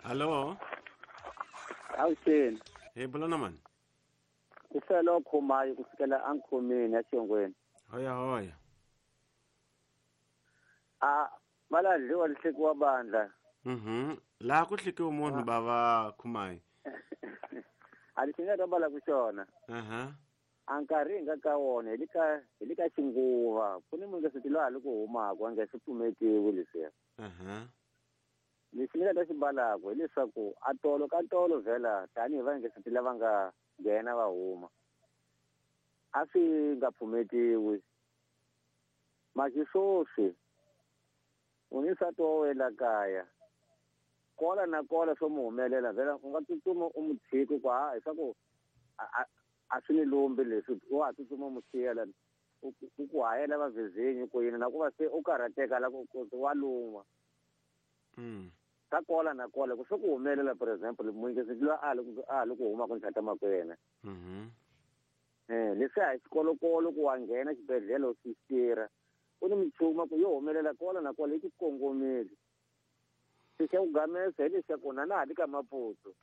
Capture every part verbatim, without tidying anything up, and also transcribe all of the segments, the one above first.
Hallo. Awuxeni. Hey bulana man. Ku fela khomayi ku fikela ankhomeni ya xongweni. Hoya hoya. A mala dliwa lihlekiwa bandla. Mhm. La ku hlekiwa munhu bava khumayi. A lexi nga ta bala ku xona. Aha. A nkarhi hi nga ka wona hi le ka hi le ka xinguva ku ni munhu se loyi a le ku humaka a nga swi pfumetiwi leswiya. Aha. Lexi ni nga ta xi balaka hileswaku a tolo ka tolo vhela tanihi va nge se lava nga nghena va huma a swi nga pfumetiwi masi swoswi u ni nsati wa wena kaya kola na kola swo mu humelela vhela u nga tsutsuma u mu tshiki ku ha leswaku a a swi ni lumbi leswi wa ha tsutsuma mu siya lani u ku hayela vavezenyi ku yini na ku va se u karhateka la ku wa luma. Mm. Ka kola na kola ku swi ku humelela for example muyingisi loyi a le a le ku huma ku ntlhata makwena. Mhm. Eh leswi a hi xikolokolo ku wa nghena xibedhlele u swi tirha u ni mitshuma ku yo humelela kola na kola yi ku kongomile. Se xa ku gamesa hi lexaku na na ha li ka Maputo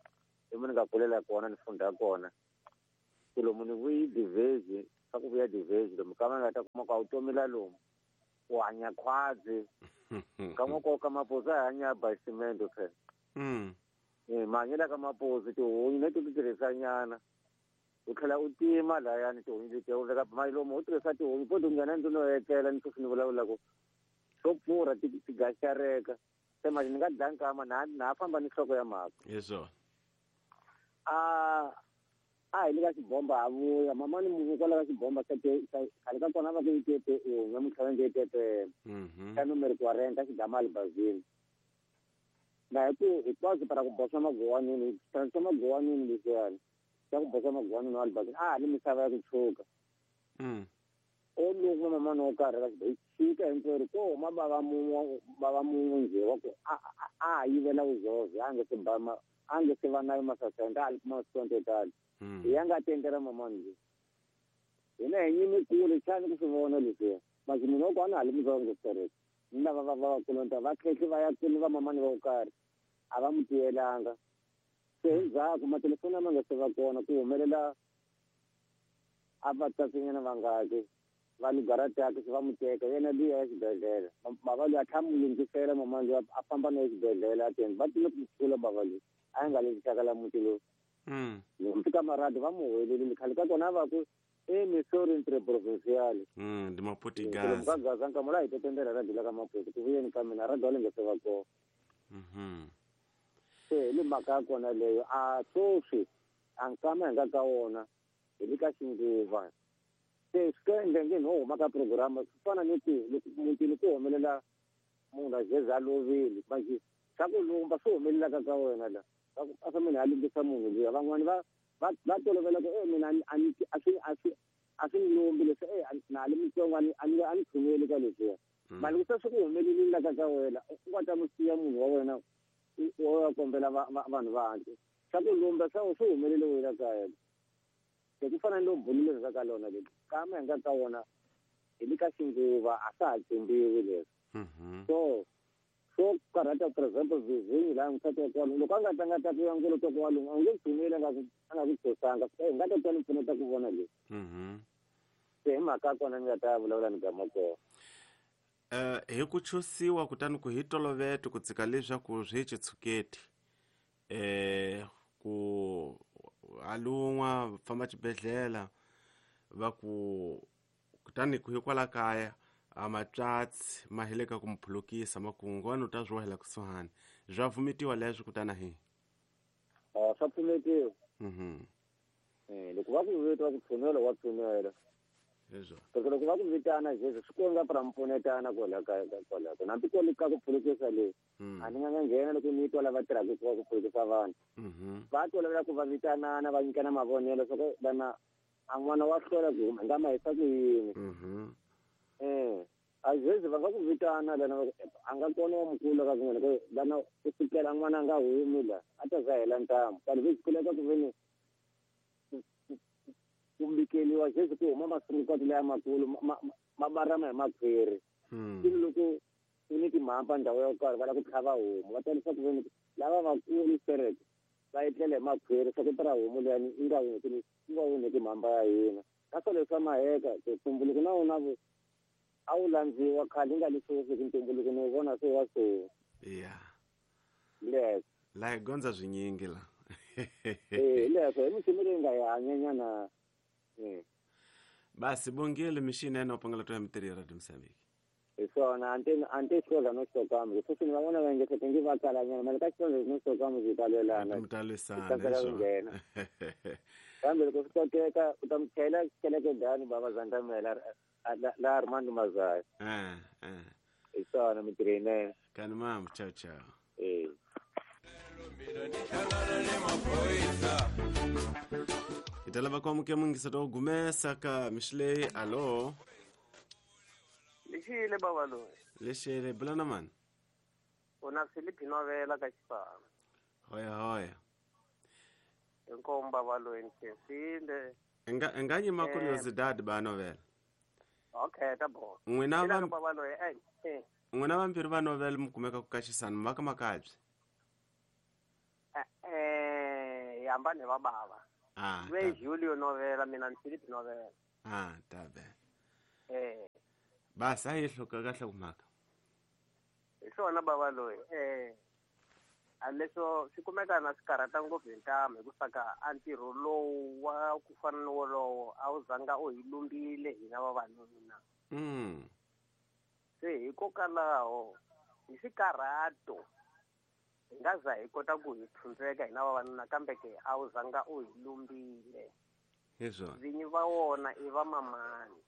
hi mo ni nga kulela kona ni funda kona ku lomu ni vuyi divezi swa ku vuya divezi lomu ka va nga ta kuma ku a wu tomela lomu u hanya khwazi ka n'woko ka Maputo a hanya basimende phela. Mm. Eh mahanyelo ka Maputo tihunyi leti ti tirhisa nyana u tlhela u tima layani tihunyi letiya u veka mali lomu u tirhisa tihunyi po ti nghena ndlwini u etlela ni sweswi ni vulavulaka swo pfurha ti ti gaxareka se manje ni nga dlaya nkama na na ha famba ni nhloko ya mhaka. Yeswo. A a hi le ka xibomba ha vuya mama ni munhu kwala ka xibomba xa khale ka kona va ku yi tepe u namuntlha va nge tepe xa numero quarenta xigama albazini na hi ku hinkwaswo para ku boxa magowanini xa magowanini leswiyani xa ku boxa magowanini wa albazini a ha ni misava ya ku tshuka. Mm. O loko mama no karhi ka xi xika hinkwerhu ko huma bava mun'we bava mun'we njhe wa ku a a yivela vuzozo a nge se ba a nge se va nayo masasenda a li kuma sonto tala. Hi ya nga tendela mama nje hina hi nyimi kule xana ku swi vona leswiya masi munhu wa kona a ha li mutsongo sitereke ni lava va va vakulonta va khehli va ya kule va mamani va ku karhi a va mu tiyelanga se hi ndzhaku matelefoni lama nga se va kona ku humelela a va tsasinyana vangaki va lugarataka se va mu teka yena luya ya xibedhlele bava luya a tlha mu lunghisela mama luya a famba na xibedhlele a teni va tile ku kula bava loyi a yi nga le xaka la muti lowu. Mm. Loko fika maradi va mu huwelelile khale ka kona va ku e Missouri interprovincial. Mm, ndi Maputo ka Gaza nka mola hi tetendela radi la ka Maputo ku vuyeni ka mina radi wa le nge se va kona. Mhm. Se hi le mhaka ya kona leyo a swoswi a nkama hi nga ka wona hi le ka xinguva se swi ka endla no huma ka programa swi fana ni ku loko mutini ku humelela munhu a jeza a lovile manje swa ku lumba swi humelelaka ka wena la a fa mina a lumbisa munhu luya van'wani va va va tolovela ku e mina a ni a swi a swi a swi ni lumbi leswi e na li mutsongo a ni a ni a ni tshungeli ka leswiya mali ku se swi ku humelelile la ka ka wena u nga ta mu siya munhu wa wena u ya kombela vanhu va handle swa ku lumba swa swi humelele wena ka yena se ku fana ni lo bulile ka ka lona leli kama hi nga ka wona hi le ka xinguva a swa ha tshembiwi leswi. So so karhata for example vizinyi laha nsati wa kona loko a nga ta nga ta ku ya ngolo ta ku wa lunga a nge tshumeli a nga ku a nga ku tshosanga hi nga ta ta ni pfuneta ku vona leswi. Se hi mhaka ya kona ni nga ta vulavula ni gama kona. Eh hi ku chusiwa kutani ku hi tolovete ku tsika leswaku swi hi tshuketi eh ku alun'wa famba xibedhlele va ku kutani ku hikwala kaya a matswatsi ma heleka ku muphulukisa makungwana u ta zwi wahela kusuhani zwa vumitiwa leswi kutana hi a swa pfumetiwa. Mhm. Eh loko va ku vita va ku tshunela wa tshunela leswo loko loko va ku vitana Jesu swi konga pra mpfunetana kwala ka kwala ka hambi ko le ka ku phulukisa le a ni nga nga nghena loko ni twa lava tirhaka ku ku phulukisa vanhu. Mhm. Va tolovela ku va vitanana va nyikana mavonelo swa ku vana a n'wana wa hlwela ku huma nga ma hisa ku yini. Mhm. Eh a Jesu va nga ku vitana lana a nga kona wa mukulu ka kun'wana ku lana ku fikela n'wana a nga humi la a ta za hela ntamu kambe swi kuleka ku veni ku mbikeliwa Jesu ku huma masungukati laya makulu ma barama hi makhwiri. Mm. Loko ku ni timhamba ndhawu yo karhi va lava ku tlhava homu va ta leswaku veni lava vakulu sereke va etlela hi makhwiri swa ku tirha homu leyani yi nga onheki yi nga onheki mhamba ya hina ka swa leswi swa maheka ntumbuluko na wona a wu landziwa khale yi nga leswi ku ntumbuluko ni wu vona se wa so ya leswo la hi gondza swinyingi la eh leswo hi misimu leyi nga hi hanyanyana basi bongile mixini ene u pangela to ya mitirhi ya Radio Mozambique hi swona ante ante xikola no xitokamu sweswi ni va vona va nge ngi va kalanyana mali ka xikola no xitokamu swi ta lwelana mi ta lwisana ku nghena kambe loko swi koteka u ta mi chayela keleke dani bava Zandamela la Armando Mazaya eh eh hi swona mitirho yinene kani mama ciao ciao eh hi ta lava ku amukela mungisa to gumesa ka mixilei alo lexile baba loyi lexile bula na mani u na Philip Novela ka Xifana hoya hoya inkomu baba loyi ni khensile nga nga nyima curiosidade ba novela okay ta bo n'wina va baba loyi eh eh n'wina vambirhi va novela mi kumeka ku kaxisana mi va ka makabye eh eh hambane va bava ah we Julio Novela mina ni Philip Novela ah tabe eh basi a yi hluka kahle ku mhaka hi swona bava loyi eh a leswo swi kumeka na swi karhata ngopfu hi ntamu hi ku saka a ntirho lowu wa ku fana ni wolowo a wu zanga u hi lumbile hina vavanuna mm se hikokwalaho hi swikarhato hi nga za hi kota ku hi tshundzeka hina vavanuna kambe ke a wu zanga u hi lumbile hi swona vinyi va wona i vamamani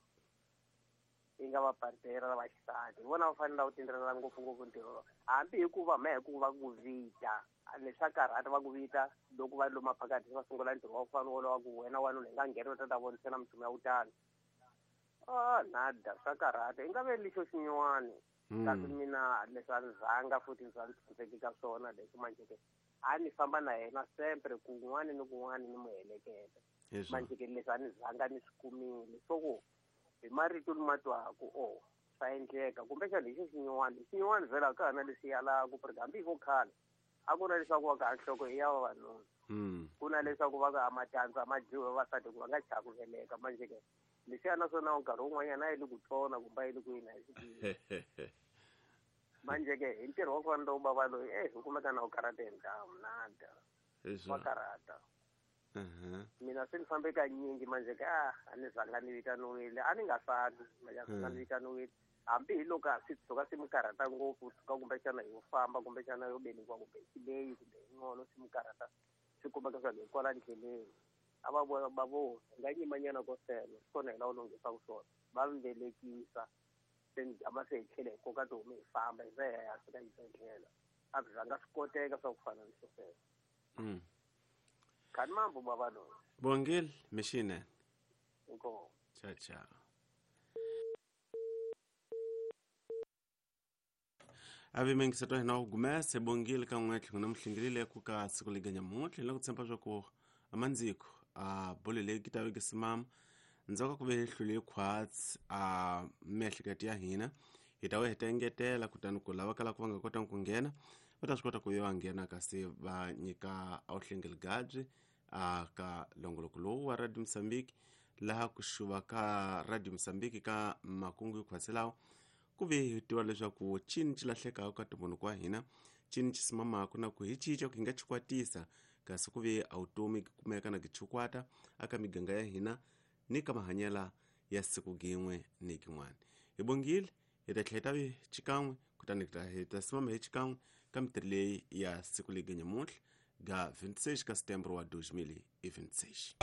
yi nga va partera va xisati hi vona va fanele ku tindlela ngopfungopfu ntirho hambi hikuva ma hikuva ku vita leswa karhata va ku vita loko va luma phakathi va sungula ntirho wa ku fana wolowo ku wena wanuna hi nga nghena u ta ta vonisela minchumu ya kutani ah nada swa karhata i nga ve lexo xinyiwani kasi mina leswi a ni zanga futhi ndzi a ni tshundzeki ka swona leswi manjhe ke a ni famba na yena sempre kun'wani ni kun'wani ni mu heleketa manjhe ke leswi a ni zanga ni swi kumile so ku hi marito ni ma twaku o swa endleka kumbexana hi xo xinyiwani xinyiwani vhela ka hana leswi yalaku porque hambi hi vo khale a ku na leswaku va ka nhloko i ya vavanuna ku na leswaku va ka matandza ma dyiwe vavasati ku va nga chavi ku veleka manjhe ke leswiya naswona nkarhi wun'wanyana a yi le ku tsona kumbe a yi le ku yini a yi swi tivi manjhe ke hi ntirho wa ku fana lowu bava loyi e hi kumeka na wu karhata hi ntamu nada wa karhata mina se ni fambe kanyingi manje ke ah a ni zanga ni vitaniwile a ni nga sali manje a zanga ni vitaniwile hambi hi loko a swi tshuka swi mi karhata ngopfu tshuka kumbexana yo famba kumbexana yo velekiwa kumbe xileyi kumbe yin'wana swi mi karhata swi kumeka swa hi kwala ndleleni a va vona va vo hi nga nyimanyana ko sele swi kona hi la u lunghisaka swona va mi velekisa se ni gama se hi tlhela hi koka tihomu hi famba hi ze hi ya fika xibedhlele a swi zanga swi koteka swa ku fana ni swo sweswo kani mambo baba loyi bongile mixine inkomu ciao ciao avi mingiseto hina ku gumese bongile ka n'we tlhelo na muhlingilile ku ka siku liganya muntlhe na ku tshemba swa ku amandziko a bolo leyi ki ta veke simama ndzhaku ka ku ve hlule khwatsi a miehleketo ya hina hi ta we hi ta engetela kutani ku lava kalaka va nga kotanga ku nghena va ta swi kota ku yo va nghena kasi va nyika a wu hlengeli gabyi a ka longoloko lowu wa Radio Mozambique laha ku xuva ka Radio Mozambique ka makungu hikhwatsi lawa ku ve hi tiva leswaku cini ci lahlekaka ka ntumbuluko wa hina cini ci simamaka na ku hi cinca ku hi nga chikwatisa kasi ku ve a vutomi kumeka na kichikwata aka miganga ya hina ni ka mahanyela ya siku gin'we ni kin'wana hi bongile hi ta tlhela hi ta vi xikan'we kutani hi ta simama hi xikan'we ka mitirho leyi ya siku leyi nyamuntlha ga vinte e seis ka setembro wa dois mil e vinte e seis.